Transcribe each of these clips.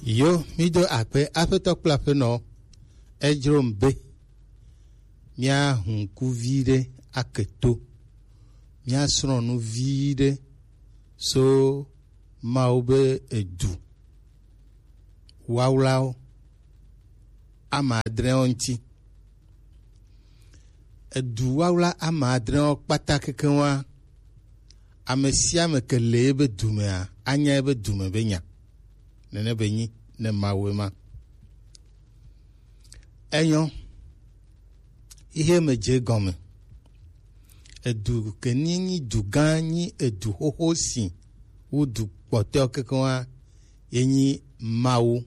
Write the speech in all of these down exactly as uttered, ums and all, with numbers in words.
Yo, mi do akpe Aƒetɔ kple Aƒenɔ. Edzro m be mía hu ŋku vi ɖe ake to, mía srɔ̃ nu vi ɖe so Mawu be edu wawlawo ame adrewo ŋuti. Edu wawla ame adrewo kpata kekeŋ wa, ame sia ame ke le ebe dumea, anya ebe dume be nya. Nene be nyi ne Mawu ema. Enyo, ihe me dze gɔme. Edu ke ni nyi du gã, nyi edu xoxo si wu du kpɔtɔewo kekeŋ wa, ye nyi Mawu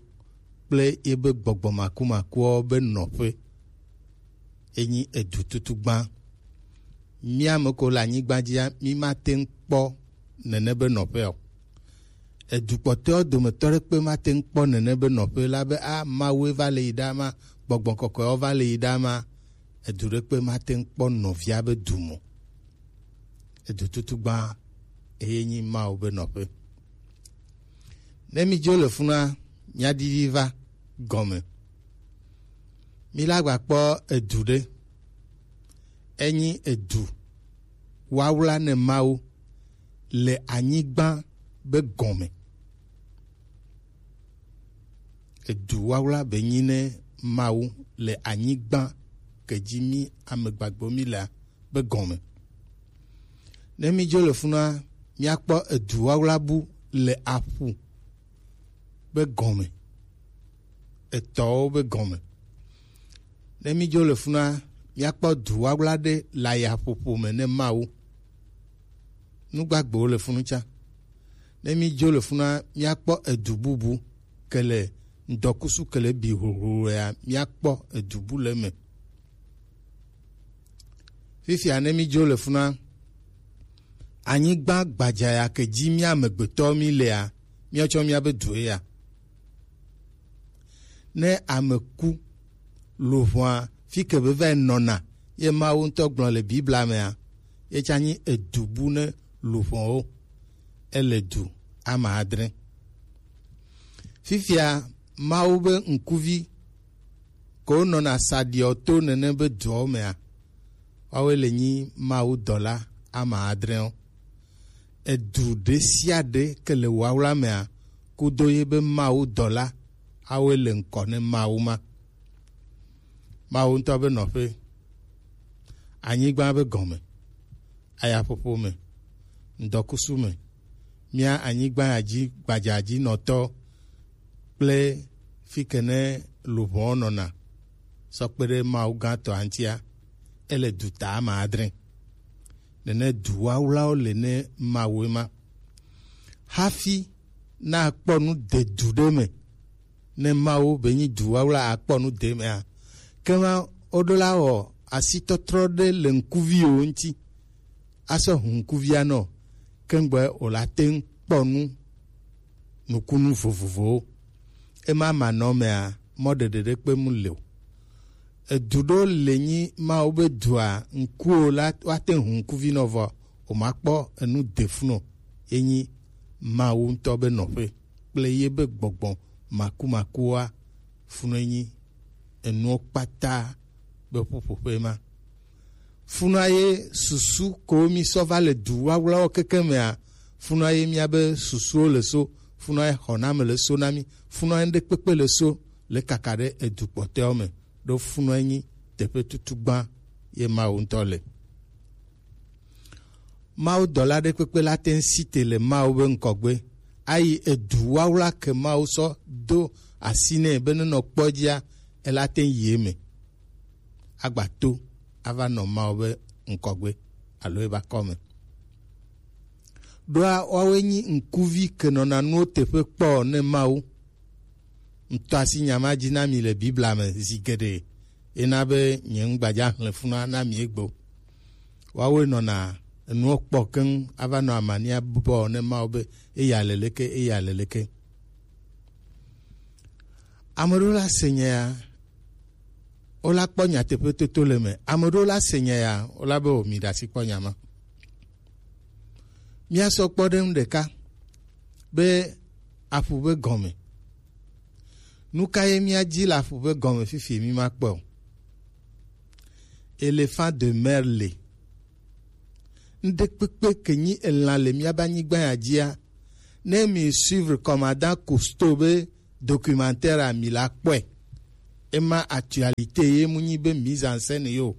kple yebe gbɔgbɔ makumakuwo be nɔƒe. Ye nyi edu tutugbã. Mía ame ko le anyigba dzia, mí mate ŋu kpɔ nene be nɔƒe o. Edu kpɔtɔewo dometɔ ɖekpe mate ŋu kpɔ nene be nɔƒe la be, a, Mawue va le yi ɖa ma, gbɔgbɔ kɔkɔewo va le yi ɖa ma. Edu ɖekpe mate ŋu kpɔ nɔvia be du mo. Edu tutugbã eye nyi Mawu be nɔƒe. Ne mi dzo le funua, mia didi va gɔme. Mi la gba kpɔ edu ɖe. Enyi edu wawla ne Mawu le anyigba be gɔme. Edu wawla be nyi ne Mawu le anyigba ke dzi mi amegbagbewo mi lea be gɔme. Ne mi dzo le funua, miakpɔ edu wawla bu le aƒu be gɔme, etɔwo be gɔme. Ne mi dzo le funua, miakpɔ du wawla ɖe le ayaƒoƒo me ne Mawu. Nu gbagbewo le funu tsã. Ne mi dzo le funua, miakpɔ edu bubu ke le ŋdɔkusu ke le bi hlohlolo ya, miakpɔ edu bu le eme. Fifia ne mi dzo le funua, anyigba gbadza ya ke dzi mía amegbetɔwo mi lea, míatsɔ míabe due ya. Ne ame ku, luʋɔa, fi ke be va yi nɔna, ye Mawu ŋutɔ gblɔ le Biblia mea, ye tsã nyi edu bu ne luʋɔwo. Ele du ame adre. Fifia Mawu be ŋkuvi ko nɔna saɖiɔ to nene be duawo mea, woawoe le nyi Mawu dɔla ame adrewo. Edu ɖe sia ɖe ke le wawla mea, kudo ye be Mawu dɔla, awoe le ŋkɔ ne Mawu ma. Mawu ŋutɔ be nɔƒe, anyigba be gɔme, ayaƒoƒo me, ŋdɔkusu me, mía anyigba ya dzi gbadzadzinɔtɔ kple fi ke ne luʋɔwo nɔna sɔ kpe ɖe Mawu gãtɔa ŋutia, ele du ta ame adre. Nene du wawlawo le ne Mawu ema. Hafi nakpɔ nu de du ɖe me, ne Mawu be nyi du wawla akpɔ nu de mea, kema woɖo la wɔ asitɔtrɔ ɖe le ŋkuviwo ŋuti, asɔ hu ŋkuvia nɔ, kengbe wòla te ŋu kpɔ nu nukunu vovovowo. Ema manɔmea, mɔɖeɖe ɖekpe mu le o. Edu ɖewo le nyi Mawu be dua ŋkuwo la woate ŋu hu ŋkuvi nɔ vɔ, wòmakpɔ enu de funu o. Ye nyi Mawu ŋutɔ be nɔƒe kple ye be gbɔgbɔ makumakuwoa, funu ye nyi enuwo kpata be ƒuƒoƒe ma. Funua ye susu ko mi sɔ va le du wawlawo keke mea, funua ye mía be susuwo le so, funua ye xɔname le so na mi, funua ye nuɖekpekpe le so le kaka ɖe edu kpɔtɔewo me, ɖo funua ye nyi teƒe tutugbã ye Mawu ŋutɔ le. Mawu dɔla ɖekpekpe la te ŋu si te le Mawu be ŋkɔgbe, ayi edu wawla ke Mawu sɔ do asi nɛ be nenɔ kpɔ dzia, ela te ŋu yi eme. Agba to ava nɔ Mawu be ŋkɔgbe alo ebe akɔme. Ɖoa woawoe nyi ŋkuvi ke nɔna nuwo teƒe kpɔ ne Mawu. Ŋtɔ asi nya ma dzi na mi le Biblia me zi geɖe, ena be nye ŋgbadza xlẽ funa na mi egbe. Woawoe nɔna enuwo kpɔ keŋ ava nɔ amania bɔ ne Mawu be eya le leke, eya le leke. Ame ɖewo la se nya ya, wola kpɔ nyateƒe toto le eme. Ame ɖewo la se nya ya, wola be o mi ɖe asi kpɔ nya ma. Míasɔ kpɔ ɖe ŋu ɖeka be aƒu be gɔme. Nu ka ye mía dzi le aƒu ƒe gɔme fifi mi ma kpɔe o? Éléphant de mer le. Ŋɖekpekpe ke nyi elã le míabe anyigba ya dzia, ne mi suivre commandant Cousteau be documentaire a mi la kpɔe. Ema actualité ye mu nyi be mise en scène yo.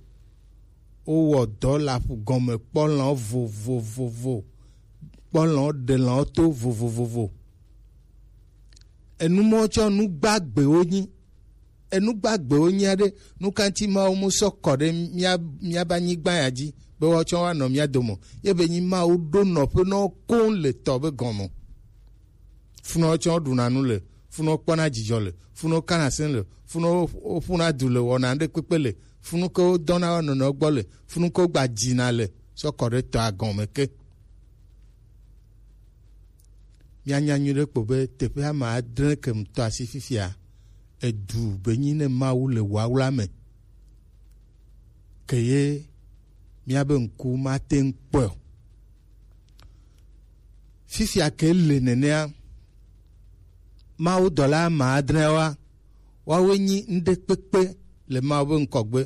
Wowɔ dɔ le aƒu gɔme kpɔ lã vovovovo, kpɔ lã ɖe lã to vovovovo. Enu mɔ tsɔ nu gbagbewo nyi. Enu gbagbewo nyi aɖe, nu ka ŋuti Mawu mu sɔ kɔ ɖe mía, míabe anyigba ya dzi be woatsɔ woanɔ mía dome o? Ye be nyi Mawu ɖo nɔƒe na wo koŋ le tɔ be gɔme. Funu woatsɔ ɖuna nu le, funu wokpɔna dzidzɔ le, funu wokana se le, funu wo, woƒuna du le, wɔna ɖe kpekpe le, funu ke wodɔna wo nɔnɔewo gbɔ le, funu ke wogba dzina le, sɔ kɔ ɖe tɔa gɔme ke. Míanya nyuie ɖe kpo be teƒe ame adre ke ŋutɔ asi fifia, edu be nyi ne Mawu le wawla me. Ke ye míabe ŋku mate ŋu kpɔe o. Fifia ke le nenea, Mawu dɔla ame adreawoa, woawoe nyi ŋɖekpekpe le Mawu be ŋkɔgbe,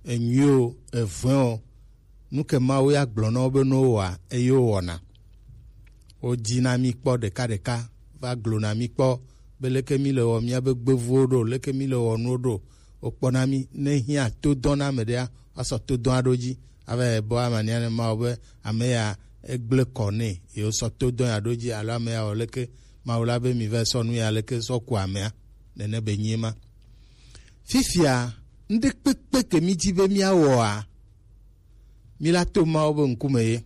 enyuie o, evɔ̃e o, nu ke Mawu ya gblɔ na wo be ne wowɔa, eye wowɔna. Wodzi na mí kpɔ ɖekaɖeka, va glo na mí kpɔ be leke mí le wɔ míabe gbevuwo ɖo, leke mí le wɔ nuwo ɖo. Wokpɔ na mí, ne hiã to dɔ na ame ɖea, woasɔ to dɔa ɖo dzi, ava yi bɔ amania ne Mawu be ame ya egblẽ kɔ nɛ, ye wosɔ to dɔ ya ɖo dzi, alo ame ya wɔ leke, Mawu la be mi va sɔ nu ya leke sɔ ku amea, nene be nyi ema. Fifia, ŋɖekpekpe ke mí dzi be míawɔa, míla to Mawu be ŋkume ye,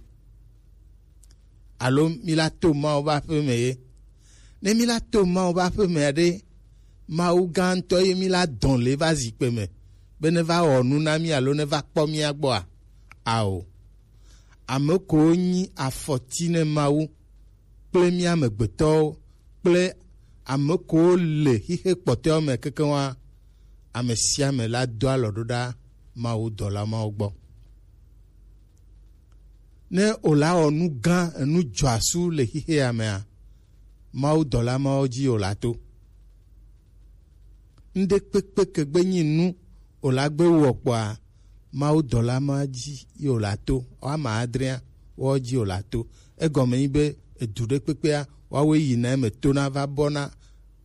alo míla to Mawu be aƒe me ye. Ne míla to Mawu be aƒe mea ɖe, Mawu gã ŋutɔ ye míla dɔn le va zikpe me, be ne va wɔ nu na mí alo ne va kpɔ mía gbɔa? Ao. Ame kowo nyi afɔti ne Mawu kple mí amegbetɔwo kple ame kowo le xixe kpɔtɔewo me kekeŋ wa, ame sia ame la do alɔ ɖo ɖa Mawu dɔla mawo gbɔ. Ne wòla wɔ nu gã, enu dzɔasu le xixea mea, Mawu dɔla mawo dzi wòla to. Ŋɖekpekpe ke gbe nyi nu wòla gbe wɔ kpɔa, Mawu dɔla ma dzi ye wòla to. Woame adrea, woawo dzi wòla to. Egɔme nyi be edu ɖe kpekpea, woawoe yina eme tona va bɔna,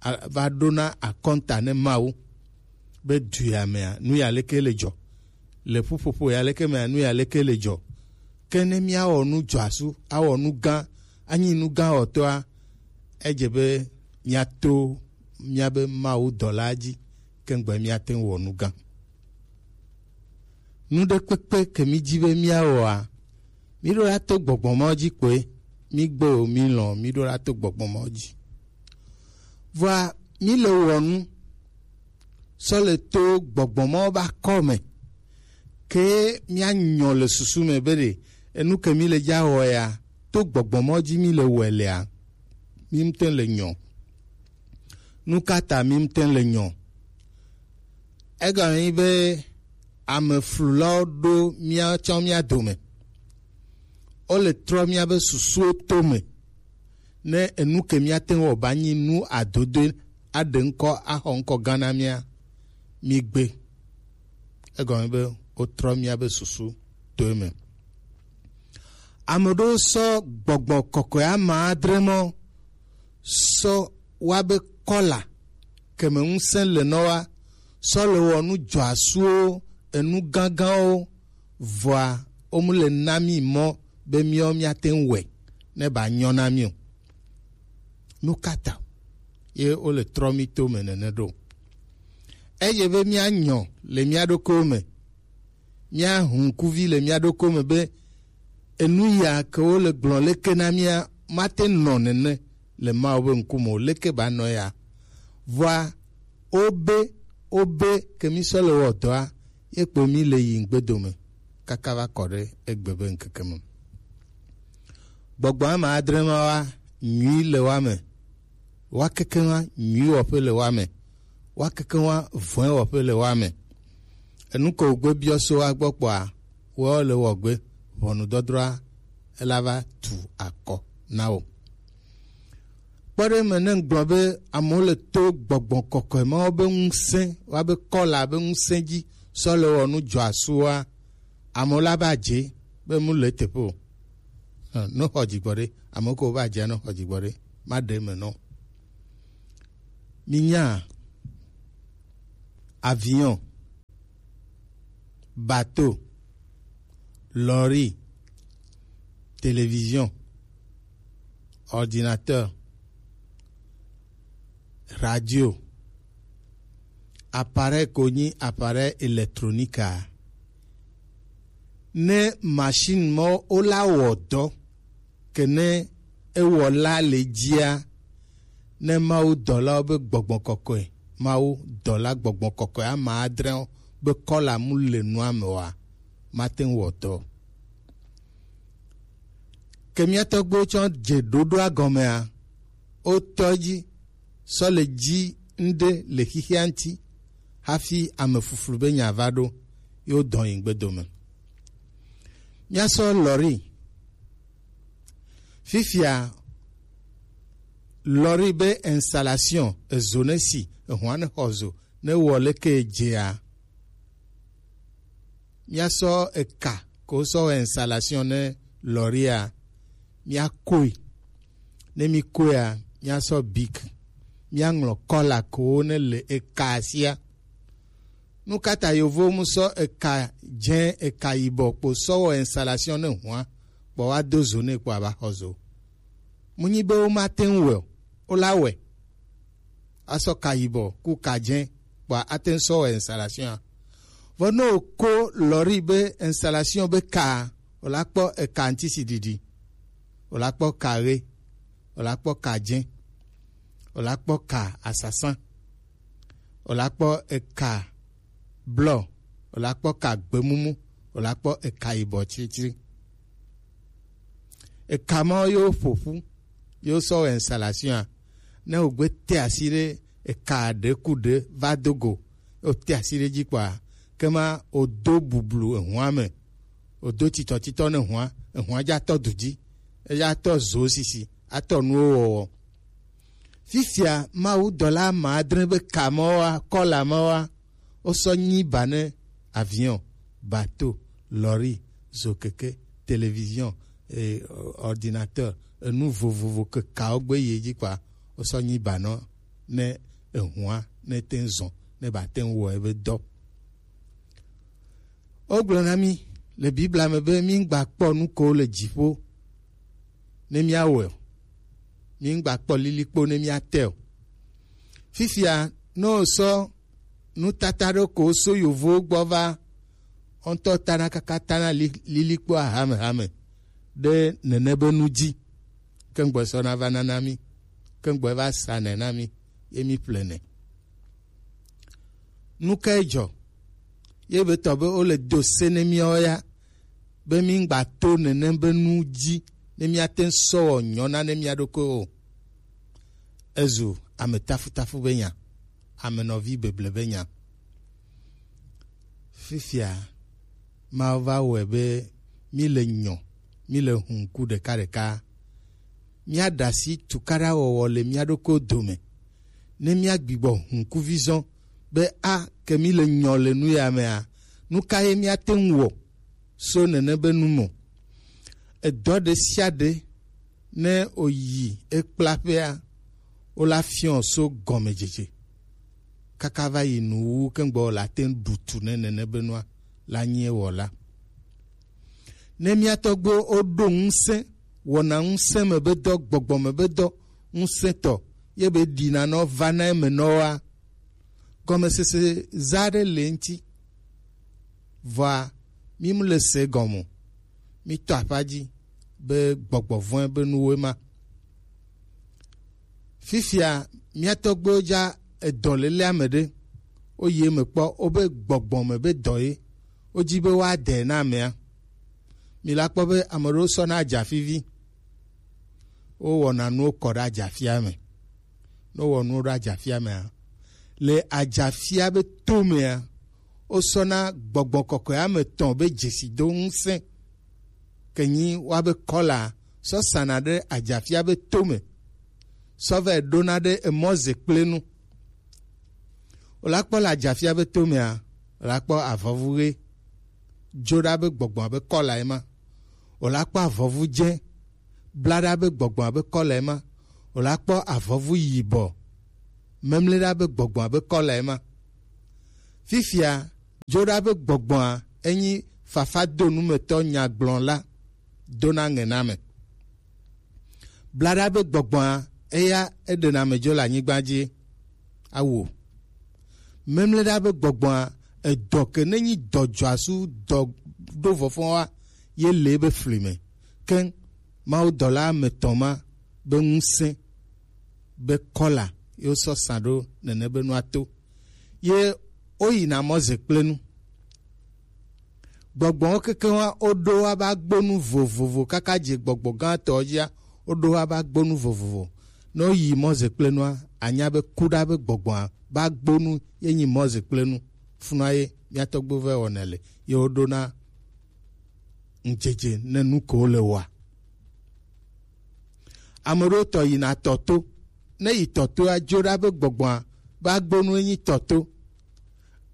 a-, va ɖona akɔnta ne Mawu. Be du ya mea, nu ya leke le dzɔ? Le ƒuƒoƒo ya leke mea, nu ya leke le dzɔ? Ke ne míawɔ nu dzɔasu, awɔ nu gã, anyi nu gã wɔtɔa, edze be míato míabe Mawu dɔla dzi, ke ŋgbe míate ŋu wɔ nu gã. Nu ɖe kpekpe ke mí dzi be míawɔa, mí ɖo la to gbɔgbɔ mawo dzi kpoe, mí gbe o, mí lɔ̃, mí ɖo la to gbɔgbɔ mawo dzi. Vɔa, mí le wɔ nu sɔ le to gbɔgbɔ mawo be akɔ me. Ke míanyɔ le susu me be ɖe enu ke mí le dza wɔ ya, to gbɔgbɔ mawo dzi mí le wɔe lea, mí ŋutɔ le nyɔ. Nu ka ta mí ŋutɔ le nyɔ? Egɔme nyi be ame flulawo ɖo míatsɔ mía dome. Wole trɔ míabe susuwo to me. Ne enu ke míate ŋu wɔ ba nyi nu adodoe, aɖe ŋkɔ, axɔ ŋkɔ gã na mía, mí gbe. Egɔme be wotrɔ míabe susu to eme. Ame ɖewo sɔ gbɔgbɔ kɔkɔe ame adre mɔ sɔ wa be kɔla keme ŋusẽ le nɔ wa sɔ le wɔ nu dzɔasuwo, enu gãgãwo, vɔa womu le na mí mɔ be míawo míate ŋu wɔe ne ba nyɔ na mí o. Nu ka ta ye wole trɔ mí to me nene ɖo? Eye be míanyɔ le mía ɖokuiwo me, míahu ŋkuvi le mía ɖokuiwo me be enu ya ke wole gblɔ leke na mía mate nɔ nene le Mawu be ŋkume o, leke ba nɔ ya? Vɔa wobe, wobe ke mí sɔ le wɔ dɔa, ye kpo mí le yi ŋgbe dome kaka va kɔ ɖe egbe be ŋkeke me. Gbɔgbɔ ame adre ma wa nyui le wa me, wa keke wa nyui wɔƒe le wa me, wa keke wa vɔe wɔƒe le wa me. Enu ke wògbe biɔ so wa gbɔ kpɔa, wɔ le wɔ gbe ʋɔnudɔdrɔa ela va tu akɔ na wo. Kpɔ ɖe eme ne ŋgblɔ be amewo le to gbɔgbɔ kɔkɔe mawo be ŋusẽ, woabe kɔla be ŋusẽ dzi sɔ le wɔ nu dzɔ asua, amewo la ba dze be mu le teƒe o. Hã, ne xɔ dzigbɔ ɖe, amewo ko ba dze ne xɔ dzigbɔ ɖe, ma ɖe eme nɔ. Minya avion, bateau, lɔri, télévision, ordinateur, radio, appareil ko nyi appareil électronique a. Ne machine mɔ wo la wɔ dɔ ke ne ewɔla le dzia, ne Mawu dɔlawo be gbɔgbɔ kɔkɔe, Mawu dɔla gbɔgbɔ kɔkɔe ama adre be kɔla mu le nua me oa, mate ŋu wɔ dɔ. Ke mía tɔgbuiwo tsɔ dze ɖoɖoa gɔmea, wotɔ edzi sɔ le dzi ŋɖe le xixia ŋuti hafi ame fuflu be nya va ɖo, ye wodɔ yi ŋgbedo me. Míasɔ lɔri. Fifia lɔri be installation ezo ne si, ehua ne xɔ zo, ne wɔ leke edzea. Míasɔ eka ko sɔ wɔ installation ne lɔria, míakoe. Ne míkoea, míasɔ bic, míaŋlɔ kɔla kowo ne le eka sia. Nu ka ta yovowo mu sɔ eka dze, eka yibɔ kpo sɔ wɔ installation ne hua, kpɔ wa do zo ne kpɔ aba xɔ zo? Mu nyi be wo ma te ŋu wɛ o, wo la wɛ. Asɔ ka yibɔ ku ka dze kpɔ ate ŋu sɔ wɔ installation a. Vɔ ne wo ko lɔri be installation be ka, o la kpɔ eka ŋutisi ɖiɖi, o la kpɔ ka ɣe, o la kpɔ ka dze, o la kpɔ ka asasã, o la kpɔ eka blɔ, o la kpɔ ka gbemumu, o la kpɔ eka yibɔ tsritsri. Eka mawo yewo ƒo ƒu, yewo sɔ wɔ installation a. Ne wògbe te asi ɖe eka ɖe ku ɖe va do go, wòte asi ɖe dzi kpɔa, ke ma wòdo bublu ehua me, wòdo titɔtitɔ ne hua, ehua dza tɔ du dzi, edza tɔ zo sisi, atɔ nuwo wɔwɔ. Fifia Mawu dɔla ame adre be ka mawoa, kɔla mawoa, wosɔ nyi ba ne avion, bateau, lɔri, zokeke, télévision, eh, ordinateur, enu vovovo ke kawo gbe yi dzi kpɔa, wosɔ nyi ba nɔ ne ehua ne te ŋu zɔ ne ba te ŋu wɔ ebe dɔ. Wogblɔ na mí le Biblia me be mí ŋgba kpɔ nu ko le dziƒo ne míawɔe o. Mí ŋgba kpɔ lilikpo ne míate o. Fifia ne wosɔ nutata ɖo ko so yovowo gbɔ va, woŋutɔ tana kaka tana li-, lilikpo hamehame ɖe nene be nu dzi. Ke ŋgbɔ sɔ na va nana mí, ke ŋgbɔ va sa nɛ na mí, ye mí ƒle nɛ. Nu kae dzɔ? Ye be tɔ be wole do se ne míawo ya, be mí ŋgba to nenem be nu dzi ne míate ŋu sɔ wɔ nyɔ na ne mía ɖokui o. Ezu ame tafutafu be nya, ame nɔvi beble be nya. Fifia Mawu va wɔe be míle nyɔ, míle hu ŋku ɖekaɖeka. Míaɖe asi tukaɖawɔwɔ le mía ɖokuiwo dome. Ne míagbigbɔ hu ŋkuvizɔ be a ke míle nyɔ le nu ya mea, nu ka ye míate ŋu wɔ so nene be nu me? Edɔ ɖe sia ɖe ne wòyi ekplaƒea, wola fiɔ so gɔmedzedze kaka va yi nuwuwu keŋgbɔ la te ŋu ɖu tu ne nene be nua la nyi ewɔla. Ne mía tɔgbuiwo woɖo ŋusẽ, wɔna ŋusẽ me be dɔ, gbɔgbɔ me be dɔ ŋusẽtɔ, ye be ɖina nɔ va na eme nɔwoa, gɔmesese za ɖe le ŋuti. Vɔa, mí mu le se gɔme o. Mí tɔ aƒa dzi be gbɔgbɔ vɔ̃e be nuwoe ma. Fifia mía tɔgbuiwo dza edɔ lelea me ɖe, woyi eme kpɔ, wobe gbɔgbɔ me be dɔ ye, wodzi be woaɖe na amea. Mi la kpɔ be ame ɖewo sɔna adzafivi, wowɔna nuwo kɔ ɖe adzafia me. Ne wowɔ nuwo ɖe adzafia mea, le adzafia be to mea, wosɔna gbɔgbɔ kɔkɔe ame etɔ̃ be dzesido ŋusẽ, ke nyi woabe kɔla sɔ sana ɖe adzafia be to me. sɔ vɛ ɖona ɖe emɔ ze kple nu. O la kpɔ le ajafia be to mea, o la kpɔ avɔvu ɣe, jo ɖa be gbɔgbɔ abe kɔla ema. O la kpɔ avɔvu dze, bla ɖa be gbɔgbɔ abe kɔla ema. O la kpɔ avɔvu yibɔ, memle ɖa be gbɔgbɔ abe kɔla ema. Fifia, jo ɖa be gbɔgbɔa enyi fafa do numetɔ nyagblɔla dona ŋɛname. Bla ɖa be gbɔgbɔa eya eɖena ame dzo le anyigba dzi. Awo. Memle ɖa be gbɔgbɔa edɔ ke ne nyi dɔ dzɔasu dɔ ɖo vɔfɔ wa ye le ebe fli me. Keŋ Mawu dɔla ame tɔn ma be ŋusẽ be kɔla ye wosɔ sa ɖo nene be nua to. Ye woyina mɔ ze kple nu. Gbɔgbɔwo kekeŋ wa woɖo wa ba gbonu vovovo kaka dze gbɔgbɔ gãtɔ dzia, woɖo wa ba gbonu vovovo. Ne woyi mɔ ze kple nua, anya be kuɖa be gbɔgbɔa ba gbonu ye nyi mɔ ze kple nu. Funua ye mía tɔgbuiwo vɛ wɔnɛ le ye woɖona ŋdzedze ne nu ko le wa. Ame ɖewo tɔ yina tɔ to. Ne yi tɔ toa, dzo ɖa be gbɔgbɔa be agbonu enyi tɔ to.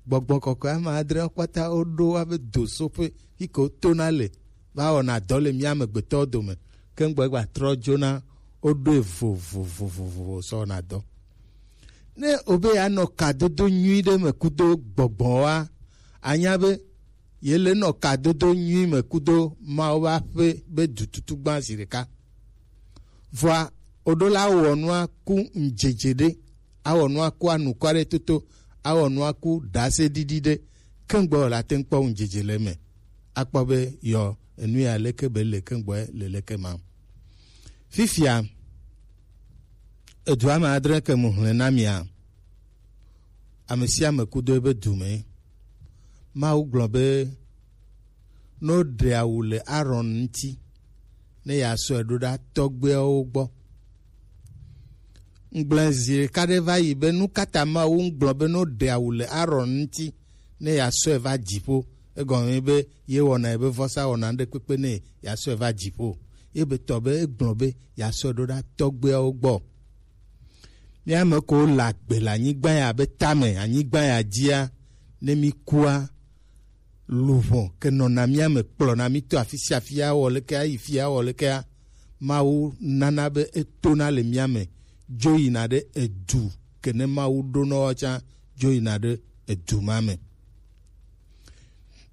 Gbɔgbɔ kɔkɔe ame adre kpata woɖo wa be dosoƒe yi ke wotona le va wɔna dɔ le mía amegbetɔwo dome. Ke ŋgbɔ gba trɔ dzona woɖoe vovovovovo sɔ wɔna dɔ. Ne obe anɔ kadodo nyui ɖe me kudo gbɔgbɔ wa, anya be ye le nɔ kadodo nyui me kudo Mawu ƒe aƒe be dututu gbã zi ɖeka. Vɔa, oɖo la wɔ nua ku ŋdzedze ɖe, awɔ nua ku anukwa ɖe toto, awɔ nua ku ɖase ɖiɖi ɖe, keŋgbɔ la te ŋkpɔ ŋdzedze le me. Akpɔ be yɔ enu ya leke be le keŋgbɔ le leke ma. Fifia, edu ame adre ke mu hlẽ na mia. Ame sia ame kudo ebe du me. Mawu gblɔ be, ne woɖe awu le Aron ŋuti, ne yeasɔe ɖo ɖa tɔgbuiawo gbɔ. Ŋgblẽ zi ɖeka ɖe va yi be, nu ka ta Mawu ŋgblɔ be ne woɖe awu le Aron ŋuti, ne yeasɔe va dziƒo? Egɔme be ye wɔna ebe vɔsa wɔna ɖe kpekpe ne yeasɔe va dziƒo. Ye be tɔ be egblɔ be yeasɔe ɖo ɖa tɔgbuiawo gbɔ. Mía ame ko le agbe le anyigba ya be tame, anyigba ya dzia, ne mí kua, luʋɔ ke nɔna mía me kplɔna mí to afi sia afi awɔ leke ayi fi awɔ lekea, Mawu nana be etona le mía me dzo yina ɖe edu ke ne Mawu ɖo nɔ woawo tsã dzo yina ɖe edu ma me.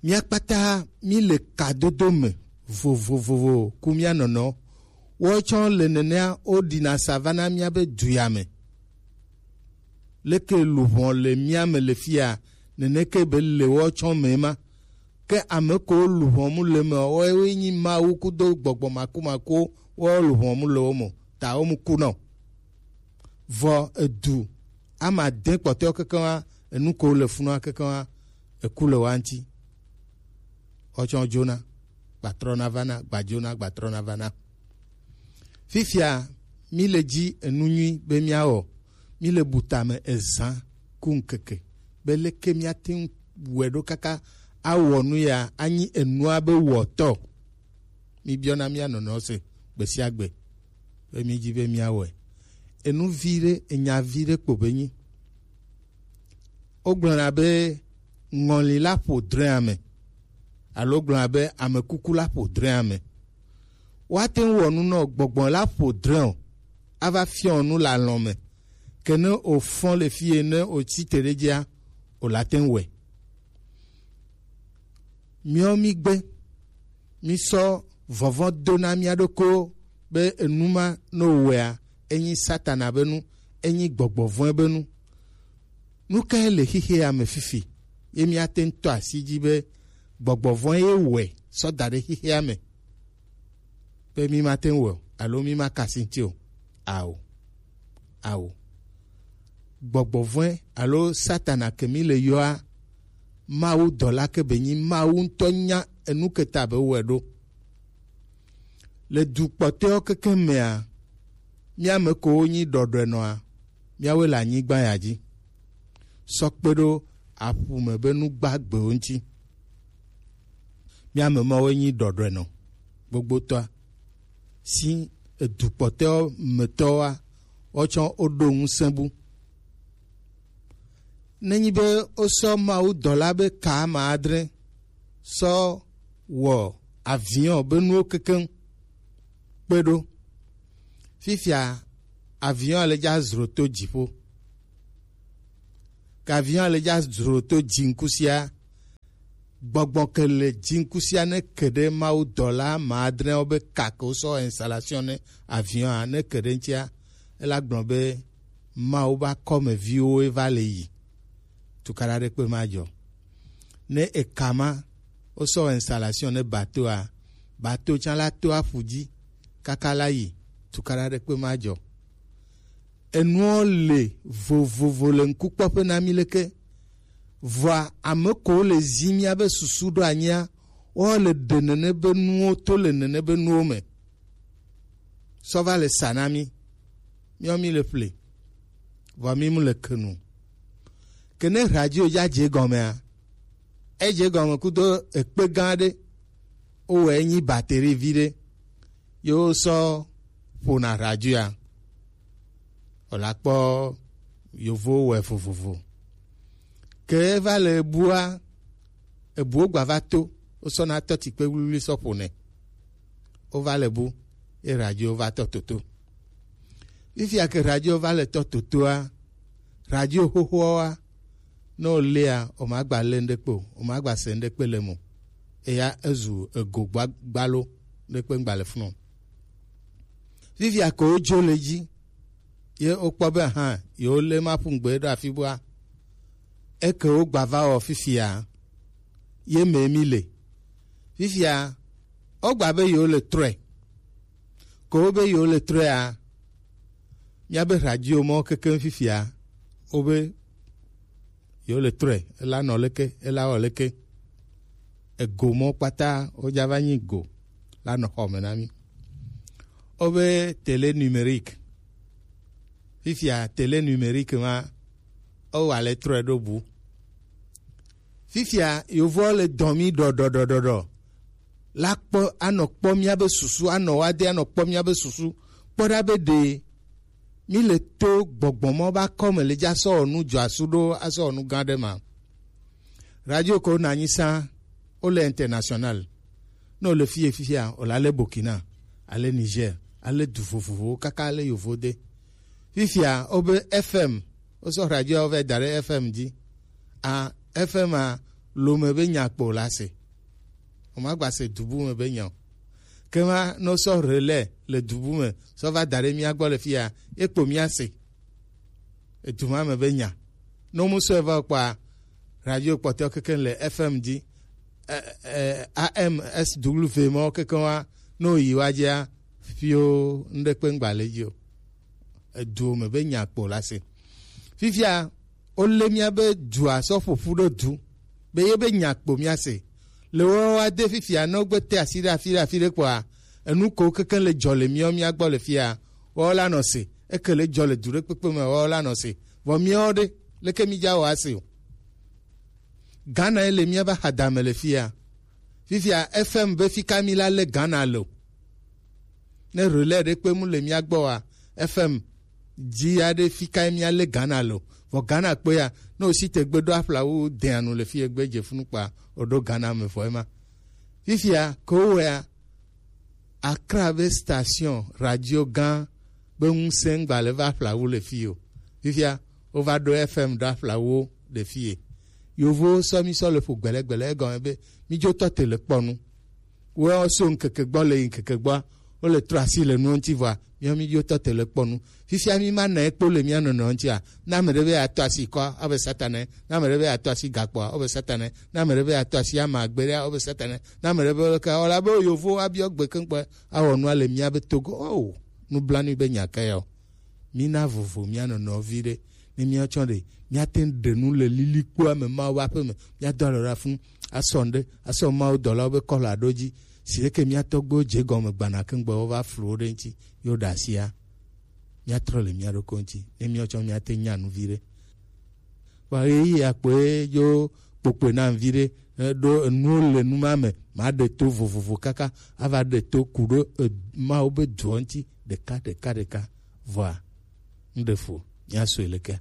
Mía kpata mí le kadodo me vovovovo ku mía nɔnɔ. Woawo tsã le nenea woɖina sa va na mía be du ya me. Leke luʋɔ le mía me le fia, neneke be le woawo tsã me ma. Ke ame ko luʋɔ mu le me, woawoe nyi Mawu kudo gbɔgbɔ makumakuwo, woawo luʋɔ mu le wo me, ta wo mu ku nɔ. Vɔ edu, ame ade kpɔtɔewo kekeŋ wa, enu ko le funua kekeŋ wa, eku le wa ŋuti. Woawo tsã dzona, gbatrɔna vana, gbadzona, gbatrɔna vana. Fifia, mí le dzi enu nyui be míawɔ, mí le bu tame ezã ku ŋkeke, be leke míate ŋu wɔe ɖo kaka awɔ nu ya anyi enua be wɔtɔ. Mí biɔna mía nɔnɔ se gbe sia gbe be mí dzi be míawɔe. Enu vi ɖe, enya vi ɖe kpo be nyi. Wogblɔna be ŋɔli la ƒo drẽ ame, alo gblɔna be ame kuku la ƒo drẽ ame. Woate ŋu wɔ nu nɔ gbɔgbɔ la ƒo drẽ o, ava fiɔ nu le alɔ̃ me. Ke ne wòfɔ le fie ne wòtsi te ɖe dzia, wòla te ŋu wɔe. Míawo mígbe, mísɔ vɔvɔ̃ do na mía ɖokuiwo be enu ma ne wòwɔea, enyi Satana be nu, enyi gbɔgbɔ vɔ̃e be nu. Nu kae le xixea me fifi ye míate ŋu tɔ asi dzi be gbɔgbɔ vɔ̃e ye wɔe sɔ da ɖe xixea me? Be mí mate ŋu wɔe o, alo mí maka asi ŋuti o. Ao. Ao. Gbɔgbɔ vɔ̃e alo Satana ke mí le yɔa, Mawu dɔla ke be nyi, Mawu ŋutɔ nya enu ke ta be wɔe ɖo. Le du kpɔtɔewo kekeŋ mea, mía me ko wonyi ɖɔɖɔenɔa, míawoe le anyigba ya dzi. Sɔ kpe ɖo aƒu me be nu gbagbewo ŋuti. Mía me mawoe nyi ɖɔɖɔenɔ gbogbotɔa. Si edu kpɔtɔewo me tɔwoa, kpɔtsɔ woɖo ŋusẽ bu. Nenyi be wosɔ Mawu dɔla be ka ame adre sɔ wɔ avion be nuwo kekeŋ kpe ɖo. Fifia avion le dza zro to dziƒo. Ke avion le dza zro to dziŋku sia, gbɔgbɔ ke le dziŋku sia ne ke ɖe Mawu dɔla ame adreawo be ka ke wosɔ installation ne avion a ne ke ɖe ŋutia, ela gblɔ be Mawu be akɔmeviwo va le yi. Tukaɖa ɖe kpe ma dzɔ. Ne eka ma wosɔ installation ne bateau a, bateau tsã la to aƒu dzi kaka la yi. Tukaɖa ɖe kpe ma dzɔ. Enuwo le vovovo le ŋkukpɔƒe na mí leke. Vɔa ame kowo le zi míabe susu ɖo anyia, woawo le ɖe nene be nuwo to le nene be nuwo me. Sɔ va le sa na mí. Míawo mí le ƒle. Vɔa mí mu le ke nu. Ke ne radio dza dze gɔmea, edze gɔme kudo ekpe gã ɖe. Wowɔe nyi bateri vi ɖe. Ye wosɔ ƒona radioa. Wòla kpɔ yovowo wɔe vovovo. Ke eva le ebua, ebuwo gba va to, wosɔna tɔ tikpe wluwlui sɔ ƒonɛ. Wova le bu, ye radio va tɔ toto. Fifia ke radio va le tɔ totoa, radio xoxoawoa, ne wòléa, wòmagba lé ŋɖekpe o, wòmagba se ŋɖekpe le eme o. Eya ezu ego gba-, gbalo, ŋɖekpe ŋgba le funu o. Fifia ke wodzo le dzi, ye wokpɔ be hã, yewolé maƒu ŋgbe ɖo afi bua, eke wogba va wɔ fifia, ye me mí le. Fifia, wogba be yewole trɔe. Ke wobe yewole trɔea, míabe radio mɔ kekeŋ fifia, wobe yewole trɔe, ela nɔ leke, ela wɔ leke. Ego mɔ kpata wodza va nyi go la nɔ xɔ me na mí. Wobe télé numérique. Fifia télé numérique ma, wowa le trɔe ɖo bu. Fifia yovowo le dɔn mí ɖɔɖɔɖɔɖɔɖɔ. La kpɔ, anɔ kpɔ míabe susu, anɔ wa de, anɔ kpɔ míabe susu. Kpɔ ɖa be ɖe mí le to gbɔgbɔ mɔ ba kɔ me le dza sɔ wɔ nu dzɔ asu ɖo asɔ wɔ nu gã ɖe ma. Radio ko na nyi sa, wole international. Ne wole fie fifia, wole ale Burkina, ale Niger, ale du vovovowo kaka ale yovo de. Fifia, wobe F M, wosɔ radio wo vɛ da ɖe F M dzi. A, F M a, lome be nya kpo la se. Womagba se dubu me be nya o. Kema ne wosɔ relais le dubu me, sɔ va da ɖe mía gbɔ le fia, ye kpo mía se. Edu ma me be nya. Ne womu sɔe va kpɔa, radio kpɔtɔ kekeŋ le F M dzi, eh, eh, A M S W mawo kekeŋ wa, ne woyi wa dzia, fio ŋɖekpe ŋgba le dzi o. Eduwo me be nya kpo la se. Fifia, wolé míabe dua sɔ ƒo ƒu ɖo du, be ye be nya kpo míase. Le woawo ade fifia, ne wogbe te asi ɖe afi ɖe afi ɖe kpɔa, enu ko kekeŋ le dzɔ le míawo mía gbɔ le fia, woawo la nɔ se. Eke le dzɔ le du ɖe kpekpe me, woawo la nɔ se. Vɔ míawo ɖe, leke mí dza wɔ ase o? Ghana ye le míabe axadame le fia. Fifia F M be fika mí la le Ghana le o. Ne relais ɖe kpe mu le mía gbɔ wa, F M dzi ya ɖe fika mía le Ghana le o. Vɔ Ghana kpe ya, ne wosi te gbe ɖo aƒlawu deanu le fie gbe dze funu kpa, woɖo Ghana me vɔ ema. Fifia ke wowɔea, Accra be station radio gã be ŋusẽ ŋgba le va aƒlawu le fie o. Fifia, wova ɖo F M ɖo aƒlawuwo le fie. Yovowo sɔ mí sɔ le ƒo gbɛlɛgbɛlɛ, egɔme be mí dzo tɔ te le kpɔ nu. Woawo so ŋkeke gbɔ le yi ŋkeke gbɔa, wole trɔ asi le nuwo ŋuti vɔa, míawo mí dzo tɔ te le kpɔ nu. Fifia mí ma nɛ kpo le mía nɔnɔewo ŋutia, ne ame ɖe be yeatɔ asi kɔa, abe Satanae, ne ame ɖe be yeatɔ asi gakpoa, abe Satanae, ne ame ɖe be yeatɔ asi ama gbeɖea, abe Satanae, ne ame ɖe be leke, ewɔla be yovowo abiɔ gbe keŋ kpɔe, awɔ nua le míabe Togo. Oh, nublanui be nya ka ya o. Mína vovo mía nɔnɔewo viɖe. Ne míatsɔ ɖe, míate ŋu ɖe nu le lilikpoa me Mawu ƒe aƒe me. Míado alɔ ɖe afi ŋu, asɔ ŋɖe, asɔ Mawu dɔlawo be kɔla ɖo dzi. Si leke mía tɔgbuiwo dze egɔme gbana keŋ gbe wova flu wo ɖe ŋuti, ye woɖe asia, míatrɔ le mía ɖokui ŋuti. Ne míatsɔ míate ŋu nya nu viɖe. Vɔ ɣeyiɣia kpoe dzo kpokpoe nam viɖe, eh, ɖo enuwo le nu ma me, maɖe to vovovo kaka ava ɖe to ku ɖo, eh, Mawu be duɔ ŋuti ɖeka, ɖeka, ɖeka. Vɔa, Ŋɖe fu, míasɔe leke?